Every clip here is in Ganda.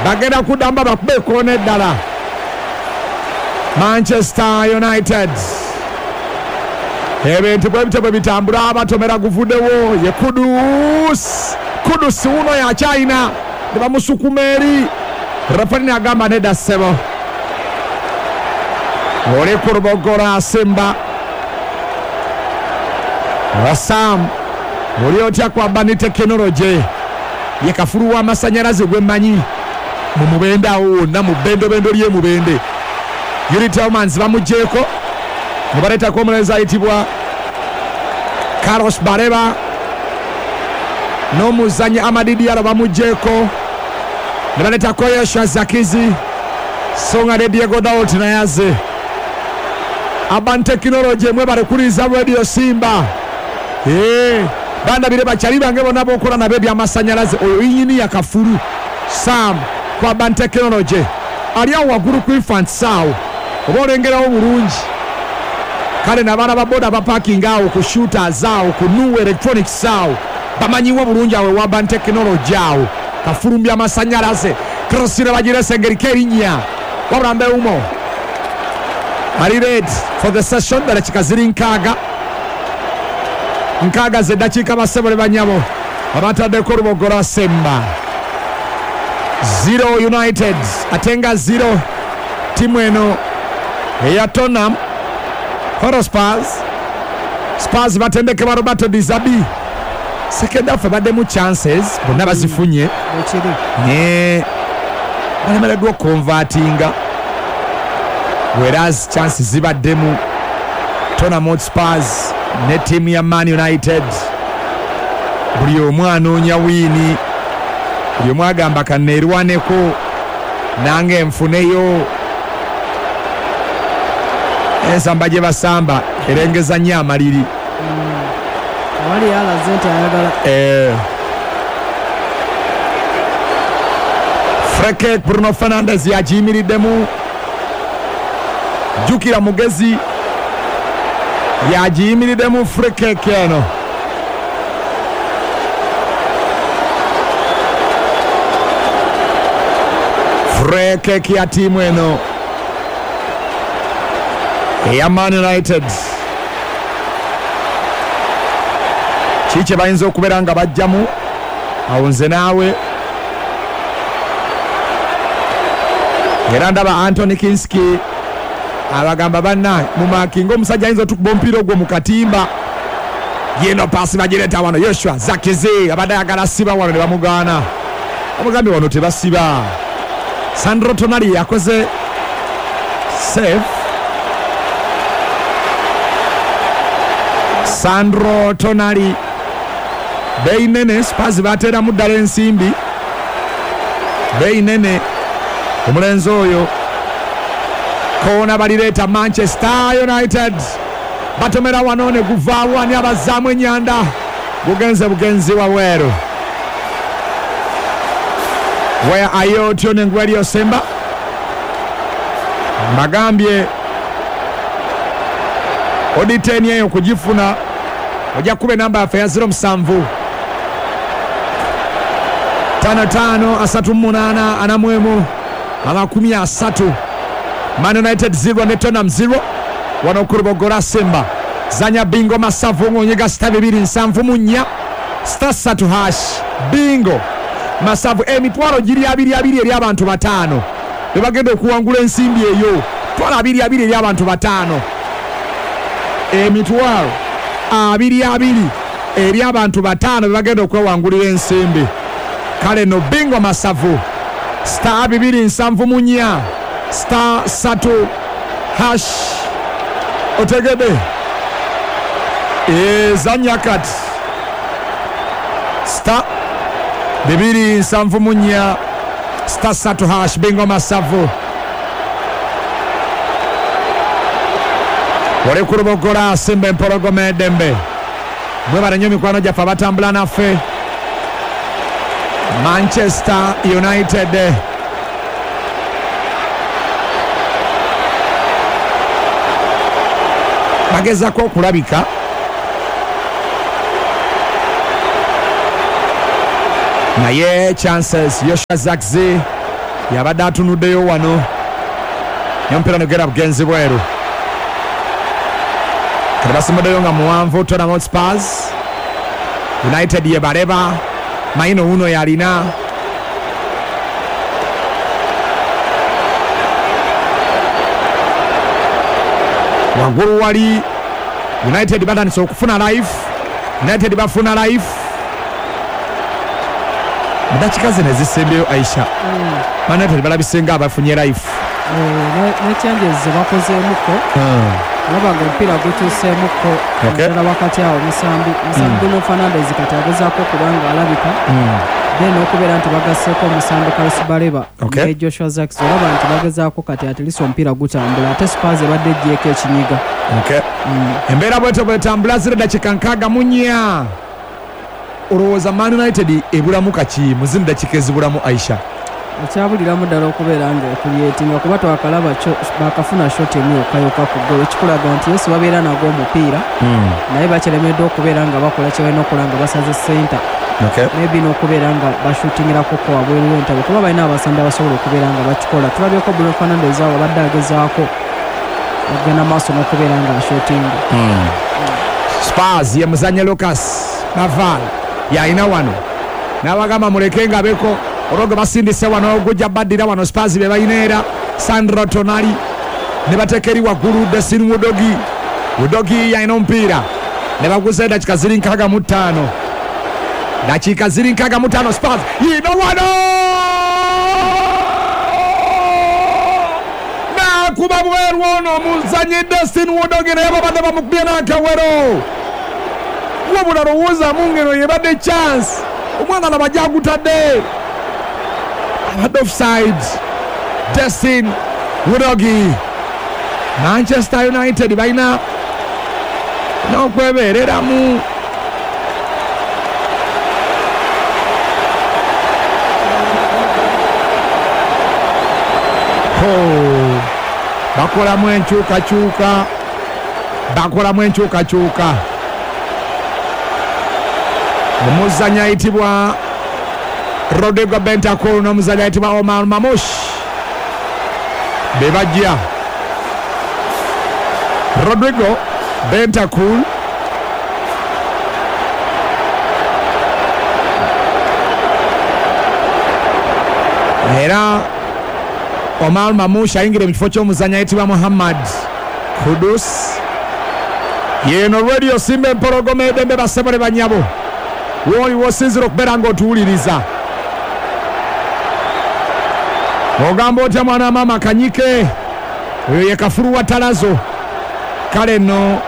Bagenda kuddamu babakube ekkoona eddala. Manchester United ebintu bwe bityo bwe bitambula, batomera guvuddewo. Ye Kudus, Kudus wuno yakyayina ne bamusukuma eri. Referee agamba nedda ssebo, oli ku Lubogora Simba. Wasam oli otya kwaba ni tekinologi ye kafulu w'amasannyalaze gwemmanyi mu Mubende awo wonna mu bendobendo ly'e Mubende. Youri Tielemans bamuggyeeko ne baleetako omulenzi ayitibwa Carlos Baleba, n'omuzanyi Amad Diallo bamuggyeeko ne baleetako Joshua Zirkzee, so nga ne Diogo Dalot naye azze. Urban Technology, mwebale kuliza Radio Simba. Bandabire bakyali bange bonna bokola nabo ebyamasannyalaze. Oyo yinginiya kafulu Sam ku Urban Technology ali awo waggulu ku Infants awo, oba olengerawo bulungi. Kale n'abaana ba boda bapakinga awo ku Shooters awo ku New Electronics awo bamanyiwo bulungi awo ewa Urban Technology awo kafulumbya amasannyalaze. Cross bagirese engeriko erinnya, wabula Mbeumo ali ready for the session. Dakika ziri 60 zeddakiika, bassebo ne banyabo. Abataddeko Lubogora Semba 0 United ate nga 0 timu eno eya Tottenham Hotspurs. Spurs batendekebwa Roberto De Zerbi. Second half ebaddemu chances, bonna bazifunye. Ekiri. Ne balemereddwa okuconvertinga, whereas chances zibaddemu. Tottenham Hotspurs ne ttiimu ya Man United, buli omu anoonya win, buli omu agamba kaneerwaneko nange nfuneyo. Ensamba gye basamba erengeza nnyo amaliri. Awali yalaze nti ayagala. Free kick, Bruno Fernandes yagiyimiriddemu. Jjukira mugezi yagiyimiriddemu free kick eno. Free kick ya tiimu eno eya Man United. Kiki kye bayinza okubeera nga bajjamu awo? Nze naawe era ndaba Antony Kinski abagamba banna mumakinga omusajja ayinza otukuba omupiira ogwo mu katimba. Yeno paasi bagireeta wano, Joshua Zirkzee abadde ayagala siba wano ne bamugaana, bamugambye wano tebasiba. Sandro Tonali yakoze save. Sandro Tonali beeyi nene, Spurs bateeramu ddala ensimbi, beeyi nene omulenzi oyo. Koona balireeta Manchester United, batomera wano ne guvaawo. Ani abazzaamu enyanda? Gugenze bugenzi wabweru. Where are you tuning Radio Simba? Mbagambye oditeni eyo kugifuna ojja kuba enamba yaffe ya 07 55 38 41 30. Man United 0 ne Tottenham 0 wano ku Lubogora Simba. Zanya bingo masavu ng'onyiga star 274 star 3 hash. Bingo masavu, emitwalo giri abiri abiri eri abantu bataano bebagenda okuwangula ensimbi eyo. Twalo abiri abiri eri abantu bataano, emitwalo abiri abiri eri abantu bataano bebagenda okwewangulira ensimbi. Kale no bingo masavu, star 274 star 3 hash. Otegede ezanya kati star 274 star 3 hash. Bingo masavu, oli ku Lubogora Simba, empologoma eddembe. Mwebale nnyo mikwano gyaffe abatambula naffe. Manchester United bagezako okulabika naye chances. Joshua Zirkzee Yabadde atunuddeyo wano naye omupiira negera bugenzi bweru. Kati basimbuddeyo nga muwanvu Tottenham Hotspurs. United ye Baleba, Maino uno yalina. Waggulu wali United batandise okufuna life. United bafuna life mu dakiika zino ezisembyeyo. Aisha, Man United balabise nga abafunye life. Ne changes ze bakozeemuko, olaba nga omupiira gukyuseemuko, naddala wakati awo omusambi Bruno Fernandes kati agezaako okuba nga alabika, then okubeera nti bagasseeko omusambi Carlos Baleba ne Joshua Zirkzee. Olaba nti bagezaako kati, at least omupiira gutambula, ate Spurs ebadde eggyeko ekinyiga. Okay. Embeera bwetyo bwetambula zira dakiika 64. Olowooza Man United ebulamu kaki mu zino dakiika ezibulamu, Aisha? Ekyabuliramu ddala okubeera nga ecreatinga, kuba twakalaba bakafuna shot emu yokka yokka ku ggolo, ekikulaga nti yes, babeera nagwo omupiira, naye bakyeremeddwa okubeera nga bakola kye balina okukola nga basaze center, maybe n'okubeera nga bashootingirako ko wabweru w'entabo, kuba balina abasambi abasobola okubeera nga bakikola. Tulabyeko Bruno Fernandes awo abadde agezaako okugenda maaso n'okubeera nga ashootinga. Spurs ye muzanye Lucas Naval yalina wano, n'abagamba muleke nga beko olwo gwe basindise wano gujja baddira wano. Spurs be balina era Sandro Tonali ne bateeka eri waggulu Destiny Udogie. Udogie yalina omupiira ne baguza. Edakika ziri 65, dakiika ziri 65. Spurs yino wano nakuba bweru ono omuzanyi Destiny Udogie, naye babadde bamukubye n'akawero. Wabula lowoozamu ngeno yebadde chance, omwana laba gyagutadde, abadde offside Destiny Udogie. Manchester United balina n'okwebeereramu. Ho, bakolamu enkyukakyuka, bakolamu enkyukakyuka. Omuzanyi ayitibwa Rodrigo Bentancur n'omuzanyi ayitibwa Omar Marmoush be bajja. Rodrigo Bentancur era Omar Marmoush ayingire mu kifo ky'omuzanyi ayitibwa Muhammad Kudus. Yeno Radio Simba Empologoma edembe. Basebole banyabo, wooli wosinzira okubeera ng'otuwuliriza, ogamba otya mwana maama Kanyike? Oyo ye kafulu wa Talazo. Kale nno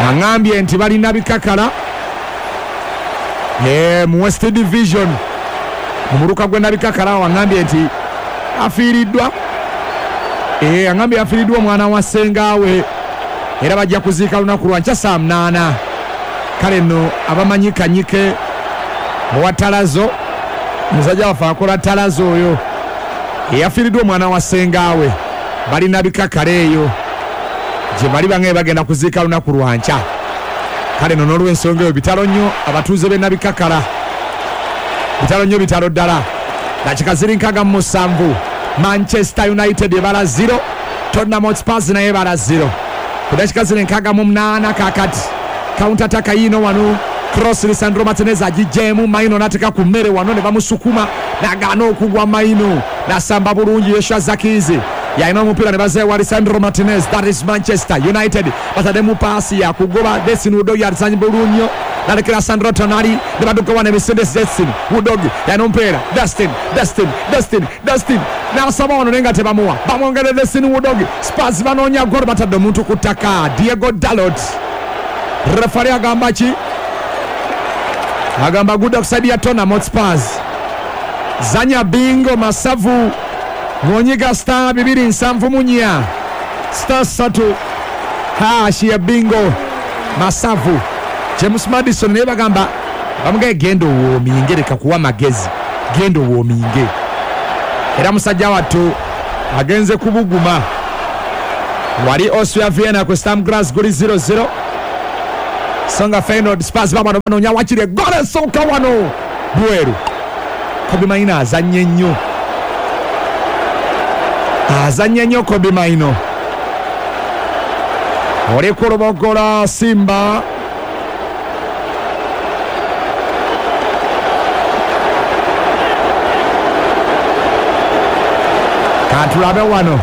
aŋŋambye nti balina bikakala mu West Division, mu muluka gwe Nabikakala. Aŋŋambye nti afiiriddwa, aŋŋambye afiiriddwa omwana wa ssengaawe, era bajja kuziika lunaku lwa nkya saa 8. Kale nno abamanyi Kanyike owa Talazo, musajja waffe akola Talazo, oyo eyafiiriddwa omwana wa ssengaawe, balina bikakala eyo gye bali, bange bagenda kuziika lunaku lwa nkya. Kale nno n'olwensonga eyo, bitalo nnyo abatuuze b'e Nabikakala, bitalo nnyo, bitalo ddala. Dakika ziri 67, Manchester United ebala 0, Tottenham Hotspurs naye ebala 0 ku dakika ziri 68. Kakati counter attack yiino wano, cross, Lisandro Martinez agijjeemu, Maino n'ateeka ku mmere wano ne bamusukuma n'agaana okugwa. Maino n'asamba bulungi. Joshua Zirkzee yalina omupiira ne bazeewa Lisandro Martinez. That is Manchester United. Bataddemu paasi yakugoba. Destiny Udogie alizanyi bulungi nnyo nalekera Sandro Tonali ne badduka wano emisinde. Destiny Udogie yalina omupiira. Destiny, Destiny, Destiny, Destiny n'asaba wano naye nga tebamuwa, bamwongere Destiny Udogie. Spurs banoonya golo, batadde omuntu ku ttaka, Diogo Dalot. Refari agamba ki? Agamba good offside ya Tottenham Hotspurs. Zanya bingo masavu ng'onyiga star 274 star 3 hash ya bingo masavu. James Madison naye bagamba bamugaye genda owoominge, leka kuwa magezi, genda owoominge. Era musajja wattu agenze kubuguma wali. Austria Vienna ku Sturm Graz guli 0-0. So nga Feyenoord Spurs babano banoonya wakiri eggolo esooka wano bweru. Kobbie Mainoo azannye nnyo, azannye nnyo Kobbie Mainoo. Oli ku Lubogola Simba. Katulabe wano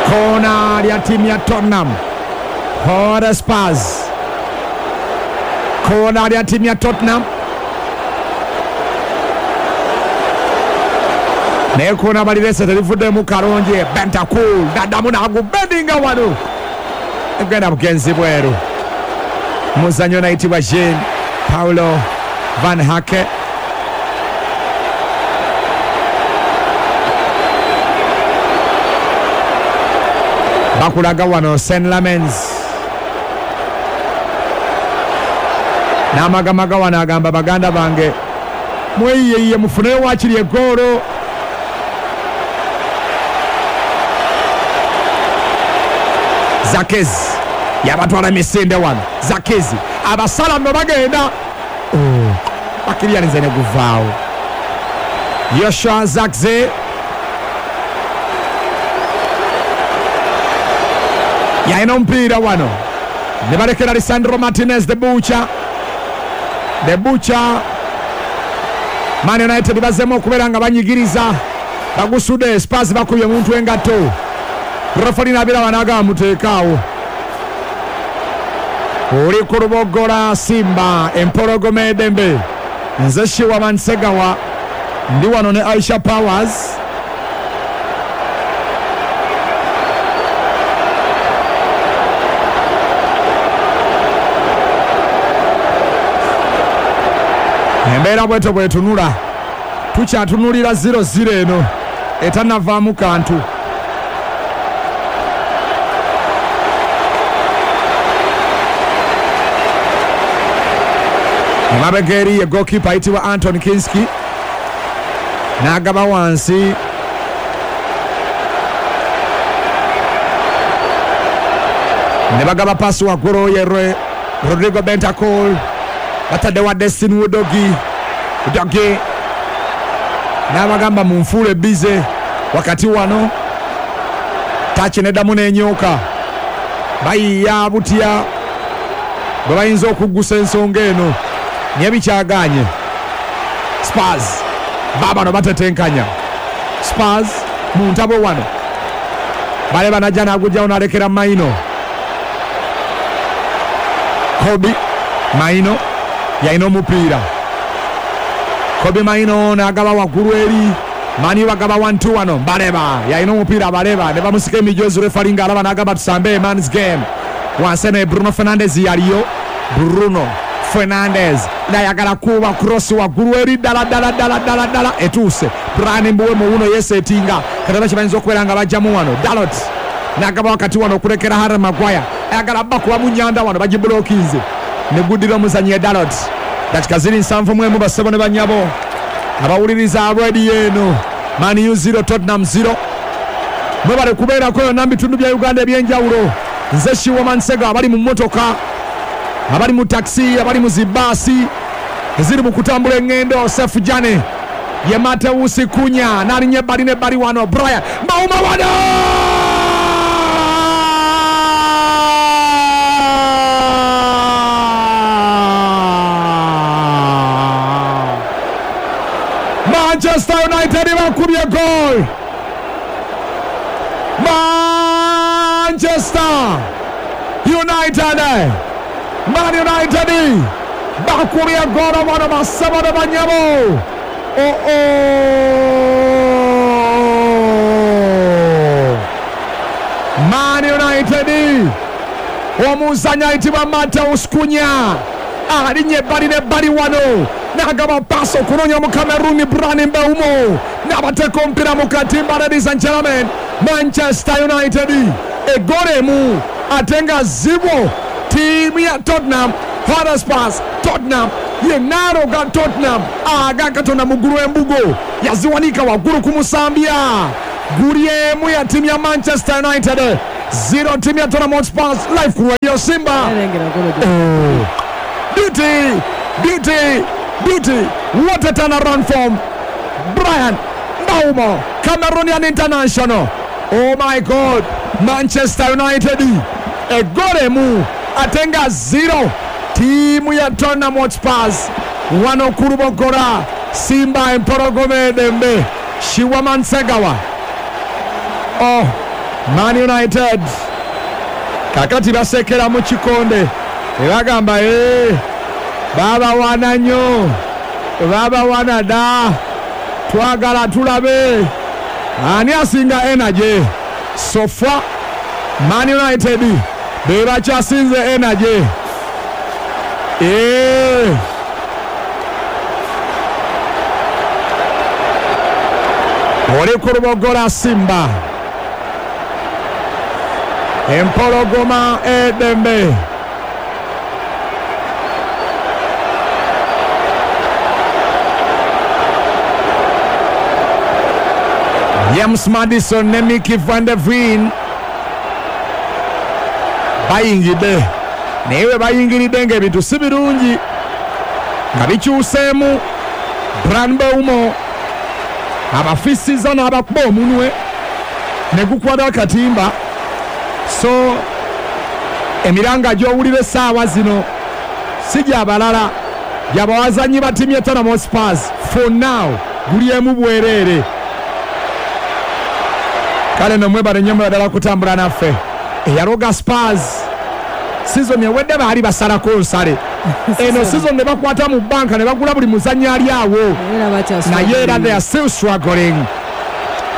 kona lya ttiimu ya Tottenham Hotspurs, kona lya ttiimu ya Tottenham, naye kona balirese terivuddemu kalungi. Bentancur naddamu n'agubendinga wano, egenda bugenzi bweru. Muzannyo nayitibwa Jean Paulo Van Hake. Bakulaga wano St. Lamens n'amagamaga wano agamba baganda bange mweyiyeyiye mufuneyo wakiri eggoolo. Zakezi yabatwala emisinde wano. Zakezi abasala nno bagenda bakiriyanize ne guvaawo. Joshua Zakze yalina omupiira wano ne balekera Lisandro Martinez the Butcher. The Butcher. Man United bazzeemu okubeera nga banyigiriza, bagusudde Spurs bakubye omuntu engatto. Referi n'abiraba n'agamba muteekaawo. Oli ku Lubogola Simba empologoma eddembe. Nze Shiwa Mansegawa ndi wano ne Aisha Powers. Embeera bwetyo bwetunula, tukyatunulira 0-0 eno etannavaamu kantu. Emabega eri ye goalkeeper ayitibwa Anton Kinski n'agaba wansi. Ne bagaba pasi waggulu ye Rodrigo Bentancur, batadde wa Destiny Udogie. Udogie n'abagamba munfuule bize wakati wano tachi neddamu n'enyooka. Bayiya butya bwe bayinza okuggusa ensonga eno, naye bikyagaanye. Spurs baabano batetenkanya. Spurs mu ntabo wano baleba najja n'agugyawo n'alekera Mainoo. Kobbie Mainoo yalina omupiira. Kobbie Mainoo n'agaba waggulu eri Mani, bagaba 1-2 wano. Baleba yalina omupiira, Baleba ne bamusika emijozi. Refari ng'alaba n'agamba tusambe man's game. Wansi ne Bruno Fernandes yaliyo. Bruno Fernandes nayagala kuba cross waggulu eri ddala ddala ddala ddala ddala etuuse. Brian Mbeumo wuno yesetinga kataba kibayinza okubeera nga bajjamu wano. Dalot n'agaba wakati wano okulekera Harry Maguire, ayagala bakuba mu nyanda wano, bagibulokinze ne guddira omuzannyi Dalot. Dakika ziri 71 bassebo ne bannyabo abawuliriza rediyo eno. Man U 0 Tottenham 0. Mwebale kubeerako yonna mu bitundu bya Uganda ebyenjawulo. Nze Shiwa Mansega, abali mu mmotoka, abali mu takisi, abali mu zibaasi eziri mu kutambula eŋŋendo. Sefu Jane ye Mateusi Kunya n'alinnya ebbali n'ebbali wano. Brian Mauma wano Manchester United bakubye goal. Manchester United, Man United bakubye goal wano basebo ne banyabo. Oh oh, Man United omuzannyi ayitibwa Mateus Cunha alinnya ebbali n'ebbali wano n'agaba paasi okunoonya Omukameruni Brian Mbeumo n'abateeka omupiira mu katimba. Ladies and gentlemen, Manchester United eggolo emu ate nga zibo ttiimu ya Tottenham Hotspur. Tottenham yenaaroga Tottenham aga Katonda mu ggulu embugo yaziwanika waggulu ku musambya. Guli emu ya ttiimu ya Manchester United 0 timu ya Tottenham Hotspurs live ku Radio Simba. Erengera golo gye. Oh. Beauty, beauty, beauty. What a turnaround from Brian Mbeumo, Cameroonian international. Oh my God, Manchester United egoal emu ate nga 0 ttiimu ya Tottenham Hotspurs wano ku Luboggola Simba empologoma edembe Shiwaman Segawa. Oh, Man United kakati basekera mu kikonde ebagamba babawana nnyo, babawana dda, twagala tulabe ani asinga energy. So far Man United be bakyasinze energy. Oli ku Luboggola Simba empologoma edembe. James Maddison ne Micky van de Ven bayingidde, naye we bayingiridde ng'ebintu si birungi nga bikyuseemu. Brian Mbeumo abafisiza n'abakuba omunwe ne gukwata akatimba. So emiranga gy'owulira essaawa zino si gy'abalala, gy'abawazanyi ba ttiimu ya Tottenham Hotspurs. For now guli emu bwereere. Kale no mwebale nnyo mwebale kutambula naffe. Eyaloga Spurs season ewedde baali basalako nsale, eno season ne bakwata mu banka ne bagula buli muzannyi ali awo, naye era they are still struggling.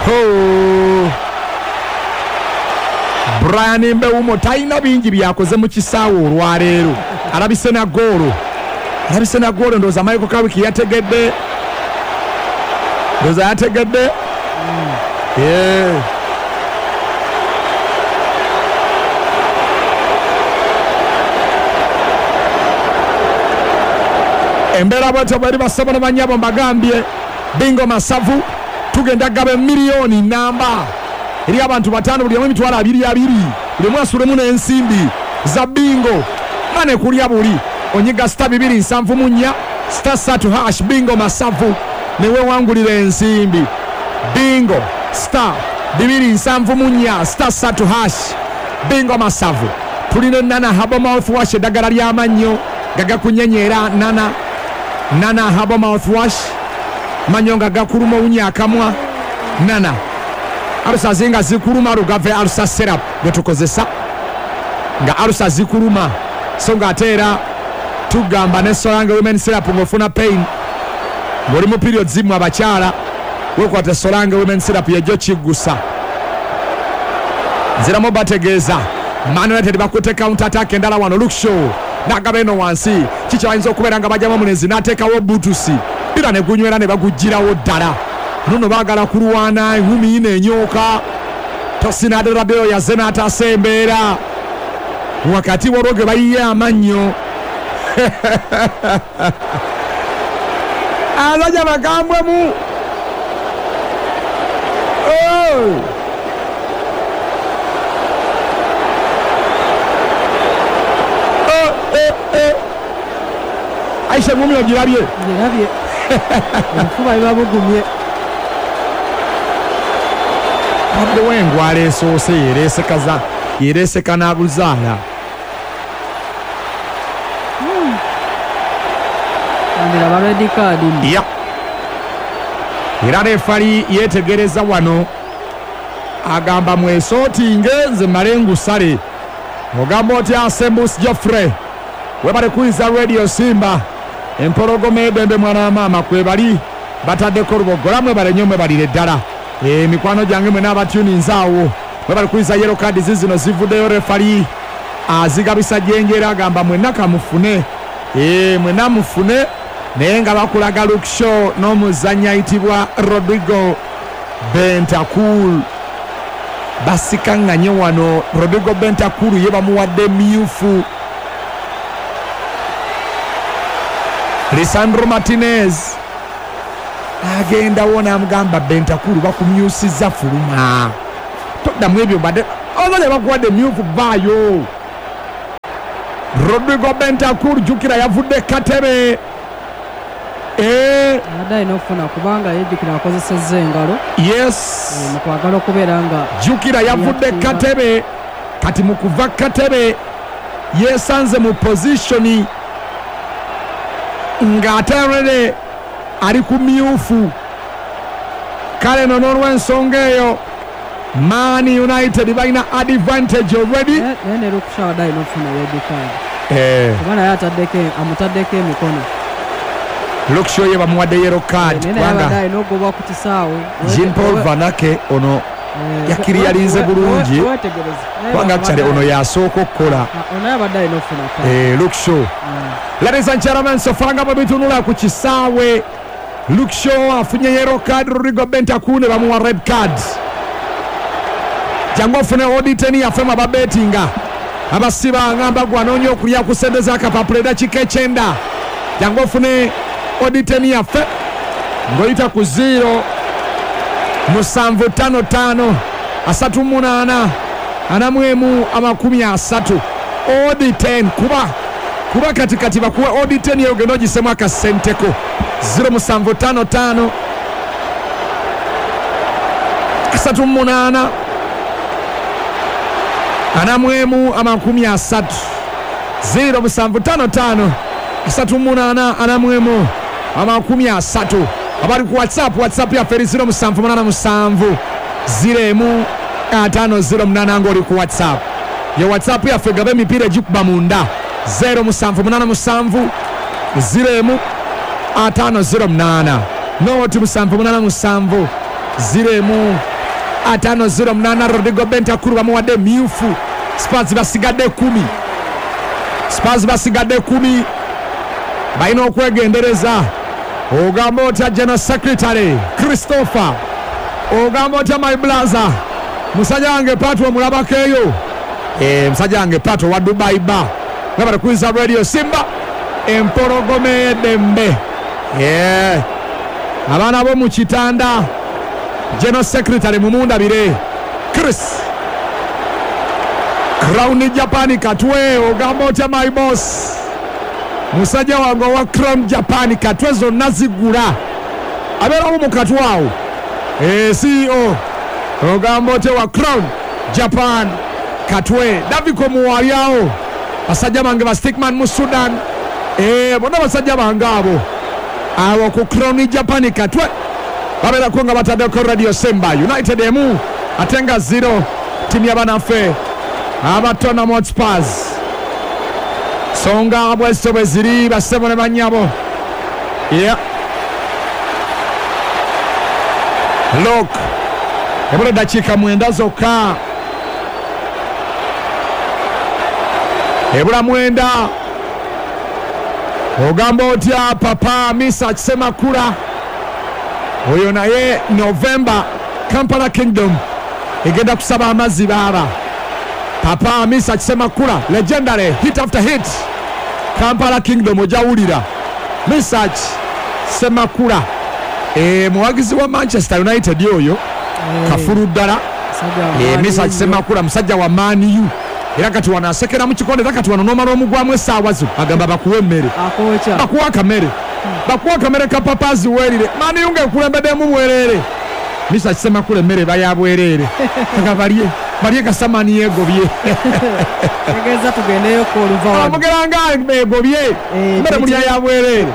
Oh. Brian Mbeumo talina bingi byakoze mu kisaawe olwaleero, alabise na goolo, alabise na goolo. Ndowooza Michael Carrick yategedde, ndowooza yategedde. Embeera bwetyo bweri basebo ne bannyabo, mbagambye bingo masavu tugenda gaba emiliyoni namba eri abantu 5, buli omu 220,000, buli omu asulemu n'ensimbi za bingo mane kulya buli onyiga star 274 star 3 hash bingo masavu newewangulira ensimbi. Bingo star 274 star 3 hash bingo masavu. Tulina Nana Herbal mouthwash, eddagala ly'amannyo gagakunyenyera. Nana Nana Herbal mouthwash, mannyo nga gakuluma owunya akamwa. Nana alusa zinga zikuluma, lugave alusa syrup gwe tukozesa nga alusa zikuluma. So nga ate era tugamba ne Solange women syrup ng'ofuna pain ng'oli mu period zimu abakyala, wekwata Solange women syrup yejjo kiggusa. Nziramu bategeeza Man United bakutte counter attack endala wano. Luke Shaw n'agaba eno wansi, kiki bayinza okubeera nga bajjamu omulenzi n'ateekawo butusi era ne gunywera ne bagugirawo ddala. Nono baagala kulwana, enkumi ina enyooka. Tosin Adarabioyo yazze n'ataasa embeera wakati waliwo ge bayiye amannyo. Abasajja bagambwemu. Aisha ngumi ogirabye? Ngirabye. Obufuba biba bugumye. Abaddewo engwala esoose yereesekaza yereeseka n'abuzaala. Ndiraba red card. Ya. Era refali yeetegereza wano agamba mwesootinge nze mmale ngusale. Ogamba otya Asembus Geoffrey, webale kuyiza Radio Simba empologoma edembe mwana wa maama kwebali bataddeko Luboggola, mwebale nnyo mwebalire ddala. Mikwano gyange mwena abatuninze awo mwebale kuyiza yellow card zizino zivuddeyo, refali azigabisa Jjenje agamba mwenna kamufune, mwenna mufune, naye nga bakulaga Luke Shaw n'omuzannyi ayitibwa Rodrigo Bentancur. Basikaŋŋanye wano, Rodrigo Bentancur ye bamuwadde myufu. Lisandro Martinez agendawo n'amugamba Bentancur bakumyusiza fuluma, toddamu ebyo badde Abasajja bakuwadde emyufu, vaayo. Rodrigo Bentancur, jjukira yavudde katebe. Abadde alina okufuna kubanga yejjukira akozesezza engalo. Yes. Mu kwagala okubeera nga Jjukira yavudde Yakuba. katebe, kati mu kuva katebe yesanze mu positioni ng'ate already ali ku myufu. Kale no n'olw'ensonga eyo Man United balina advantage already. Naye ne Luke Shaw abadde alina okufuna red card kuba naye amutaddeko emikono. Luke Shaw ye bamuwadde yellow card Naye naye abadde kubanga alina okugobwa ku kisaawe. Jean Paul Vanake ono yakiriyalinze bulungi Wetegereze. Naye kubanga actually ono yasooka okukola. Ono naye abadde alina okufuna card. Luke Shaw. Ladies and gentlemen, so far nga bwe bitunula ku kisaawe, Luke Shaw afunye yellow card, Rodrigo Bentancur ne bamuwa red card. Jangu ofune oditeni yaffe mu ababetinga abasiba ngamba gwe anoonya okulya ku ssente z'akapapula eddakiika 90. Jangu ofune oditeni yaffe ng'oyita ku 0 7 5 5 3 8 41 30. Odi 10 kuba kati kati bakuwe odi 10 eyo ogenda ogisemu akasenteko. 0 7 5 5 3 8 41 30. 0 7 5 5 3 8 41 30. Abali ku WhatsApp, WhatsApp yaffe eri 0 7 8 7 0 5 0 8 ng'oli ku WhatsApp. Ye WhatsApp yaffe gaba emipiira egikuba munda 0 7 8 7 0 5 0 8 noti 7 8 7 0 5 0 8. Rodrigo Bentancur bamuwadde myufu. Spurs basigadde 10. Spurs basigadde 10, balina okwegendereza. Ogamba otya General Secretary Christopher? Ogamba otya my brother? Musajja wange Pato omulabako eyo. Musajja wange Pato wa Dubai ba nga bali Radio Simba empologoma ey'eddembe. Abaana bo mu kitanda, General Secretary mumundabire Chris Crown Japan Katwe. Ogamba otya my boss? Musajja wange owa Crown Japan Katwe zonna zigula, abeerawo mu Katwe awo. CEO ogamba otya wa Crown Japan Katwe? Daviko muwalyawo, basajja bange ba Stickman mu Sudan. Bonna basajja bange abo awo ku Crown Japan Katwe babeerako nga bataddeko Radio Simba. United emu ate nga 0 ttiimu y'abanaffe aba Tottenham Hotspurs. Songa bwezito bwe ziri bassebo ne bannyabo. Yeah. Look, ebula eddakiika 9 zokka, ebula 9. Ogamba otya papa Misa Kisemakula? Oyo naye November Kampala Kingdom egenda kusaba amazzi baaba. Papa Misa Kisemakula legendary, hit after hit. Kampala Kingdom ojawulira Misa Kisemakula, muwagizi wa Manchester United oyo kafulu ddala. Misa Kisemakula musajja wa Man U, era kati wano asekera mu kikonde, era kati wano n'omala omugwamu essaawa zo agamba bakuwe emmere, bakuwe akamere, bakuwe akamere ka papazi weerire. Man U ng'ekulembeddemu bwereere. Misa Kisemakula emmere eba ya bwereere, aga balye balye kasamani yeegobye. Tegeeza tugendeyoko oluva wano. Amugera nga egobye emmere mulya ya bwereere.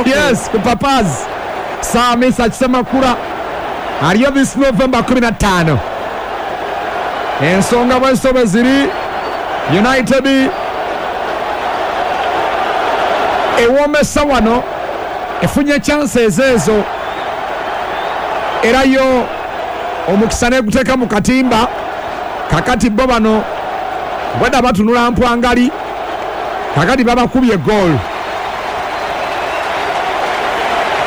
Yes, ku papazi. Saa Misa Kisemakula aliyo this November 15. Ensonga bwezito bwe ziri, United ewomesa wano, efunye chances ezo, era yo omukisa neguteeka mu katimba. Kakati bo bano bwedda batunula mpwangali, kakati babakubye goal.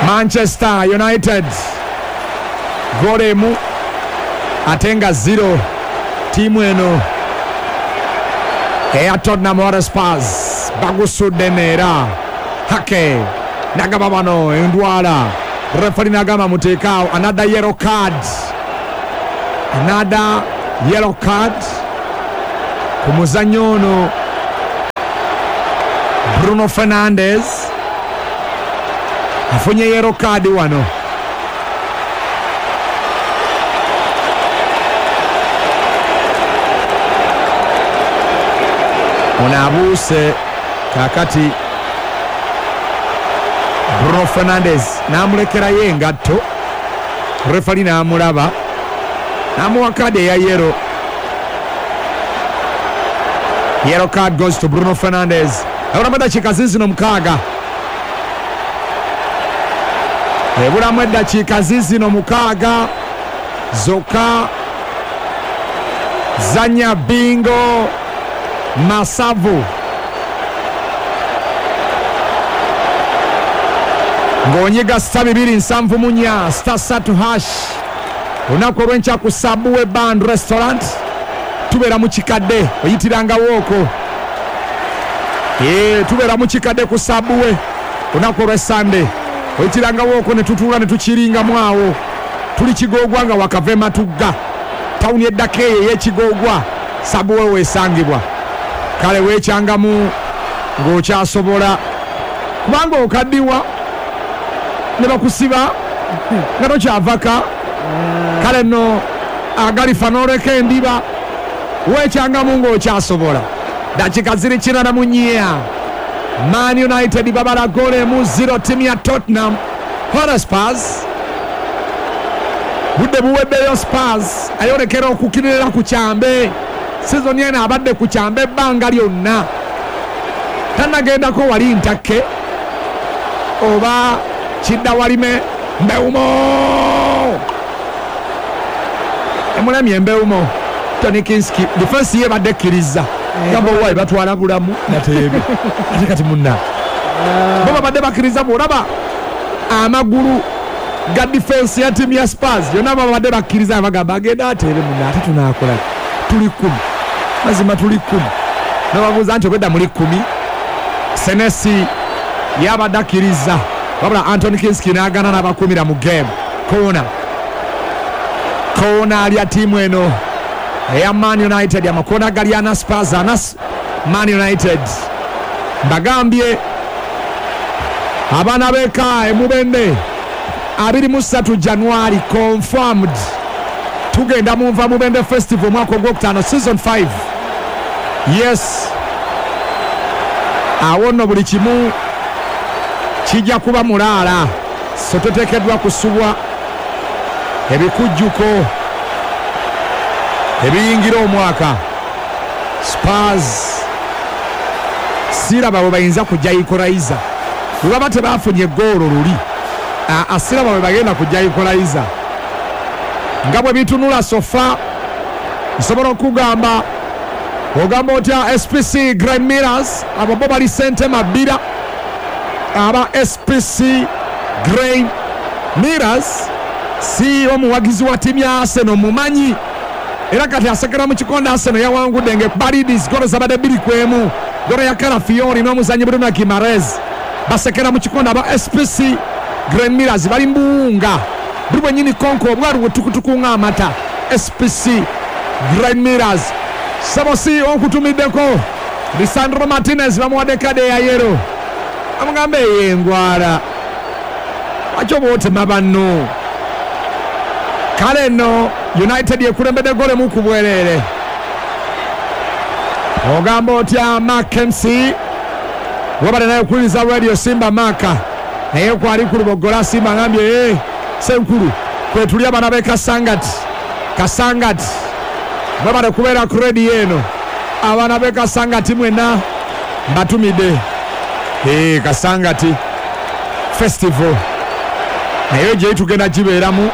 Manchester United goal emu ate nga 0 ttiimu eno eya Tottenham Hotspur. Bagusudde neera Hake nagaba bano endwala, refari nagamba muteekaawo. Another yellow card, another yellow card. Ku muzannyo ono Bruno Fernandes afunye yellow card wano. Ono abuuse kaakati Bruno Fernandes n'amulekerayo engatto, refali n'amulaba n'amuwa kaadi eya yellow. Yellow card goes to Bruno Fernandes. Ebulamu eddakiika zizino 6. Ebulamu eddakiika zizino 6 zokka. Zanya bingo Masavu ng'onyiga star 274 star 3 hash. Olunaku olw'enkya ku Sabuwe Band Restaurant tubeera mu kikadde, oyitirangawo okwo. Tubeera mu kikadde ku Sabuwe olunaku olwa Sunday, oyitirangawo okwo ne tutuula ne tukiringamu awo. Tuli Kigoogwa nga wakava e Matugga, tawuni eddako eyo ey'Ekigoogwa, Sabuwe weesangibwa. Kale weekyangamu ng'okyasobola, kubanga okaddiwa ne bakusiba nga tokyavaka. Kale nno agalifa n'oleka endiba, weekyangamu ng'okyasobola. Dakika ziri 94, Man United babala goolo emu 0 ttiimu ya Tottenham Hotspurs. Budde buweddeyo, Spurs ayolekera okukirira ku kyambe. Sizoni eno abadde ku kyambe ebbanga lyonna, tannagendako wali ntakke oba kidda walime. Mbeumo emulemye Mbeumo. Tony Kinski defense ye badde ekkiriza gamba owaayi batwala bulamu nateebe ate kati munna bo babadde bakkiriza. Bw'olaba amagulu ga defense ya ttiimu ya Spurs yonna babadde bakkiriza, bagamba agenda ateebe munna, ate tunaakola tuli 10, mazima tuli 10. Nababuuza nti obwedda muli 10. Senesi yabadde akkiriza, wabula Anthony Kinski n'agaana n'abakuumira mu game. Koona koona alya ttiimu eno eya Man United, amakoona gali ana Spurs ana Man United. Mbagambye abaana b'eka emubende 23 January confirmed, tugenda mu Nva Mubende Festival omwaka ogwokutaano season 5. Yes, awo nno buli kimu kijja kuba mulaala, so toteekeddwa kusubwa ebikujjuko ebiyingira omwaka. Spurs siraba bwe bayinza kujja equalizer, bwe baba tebafunye goolo luli, siraba bwe bagenda kujja equalizer. Nga bwe bitunula sofa, nsobola okugamba ogamba otya SPC Grand Mirrors, abo bo bali sente mabira. Aba SPC Grand Mirrors si omuwagizi wa ttiimu ya Arsenal mumanyi, era kati asekera mu kikonde. Arsenal yawangudde ng'ekubalidis golo zabadde 2-1, golo ya Calafiori n'omuzannyi Bruno Guimaraes. Basekera mu kikonde aba SPC Grand Mirrors, bali mbuwunga buli bwennyini konko obwalu bwe ng'amata. SPC Grand Mirrors sabo si okutumiddeko Lisandro Martinez, bamuwadde kade ya yellow, amugambe ey'engwala lwaki oba otema banno. Kale nno United ekulembedde golo emu ku bwereere. Ogamba otya Mark MC webale naye okuwuliriza Radio Simba. Maka naye kwali ku Lubogola Simba ngambye senkulu kwetuli abaana b'e Kasangati. Kasangati mwebale kubeera ku radio eno, abaana b'e Kasangati mwenna mbatumidde. Kasangati Festival naye gye tugenda gibeeramu.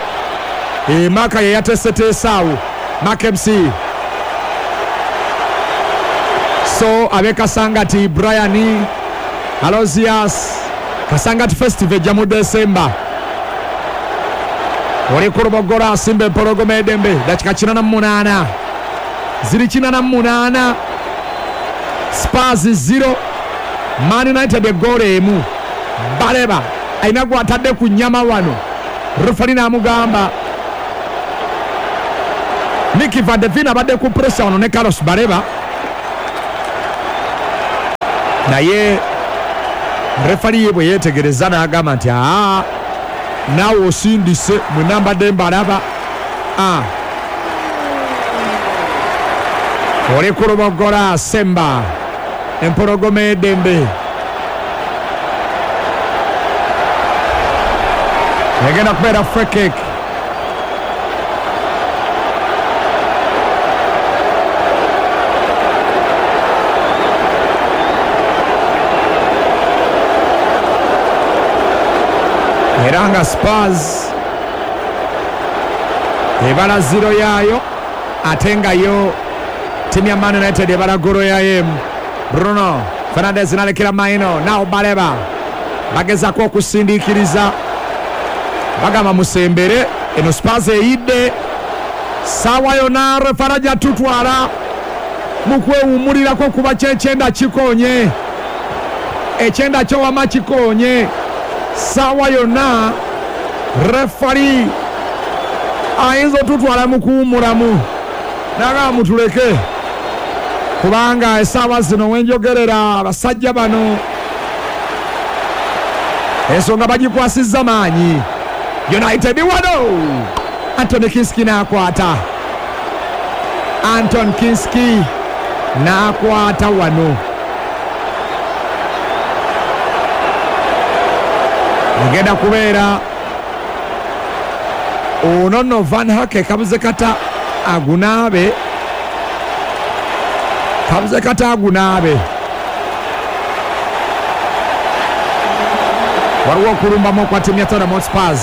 Maka ye yateeseteese awo Mark MC. So ab'e Kasangati Brian Alozias, Kasangati Festival ejja mu December. Oli ku Lubogola asimba empologoma edembe, dakika 88 ziri 88, Spurs 0 Man United egoolo emu. Baleba alina gwatadde ku nnyama wano, refali n'amugamba Micky van de Ven abadde ku pressure wano ne Carlos Baleba. Naye refali ye bwe yeetegereza n'agamba nti aa, naawe osindise, mwenna mbadde mbalaba. Oli ku Lubogola Semba, empologoma ey'eddembe egenda kubeera free kick. Era nga Spurs ebala 0 yaayo, ate nga yo timu ya Man United ebala golo yayo emu. Bruno Fernandes nalekera Maino, nao Baleba bagezaako okusindiikiriza, bagamba musembere, eno Spurs eyidde saawa yonna refaraja tutwala mu kwewummulirako kuba kyekyenda kikonye, ekyenda kyowama kikonye, saawa yonna refari ayinza otutwala mu kuwummulamu, nagamba mutuleke, kubanga essaawa zino wenjogerera abasajja bano ensonga bagikwasizza maanyi. United wano Anton Kinski n'akwata, Anton Kinski n'akwata wano, egenda kubeera ono nno Van Hake kabuze kata agunaabe, kabuze kata agunaabe. Waliwo okulumbamu okwa ttiimu ya Tottenham Hotspur,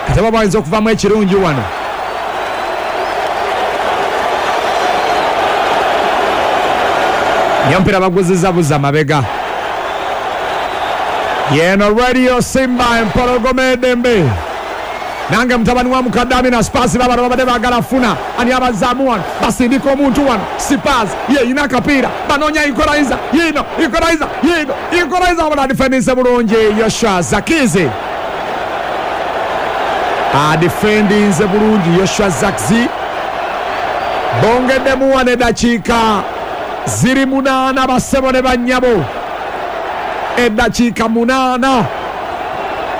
kati oba bayinza okuvamu ekirungi wano. Naye omupiira baguzizza buzza mabega. Yeno Radio Simba empologoma edembe. Nange mutabani wa mukadde Amina, Spurs babano babadde baagala funa ani abazaamu wano, basindika omuntu wano, Spurs yeyina akapiira, banoonya equalizer, yiino equalizer, yiino equalizer, wabula adifendinze bulungi Joshua Zakizi, adifendinze bulungi Joshua Zakizi. Bongeddemu wano eddakiika ziri 8 bassebo ne bannyabo, eddakiika 8.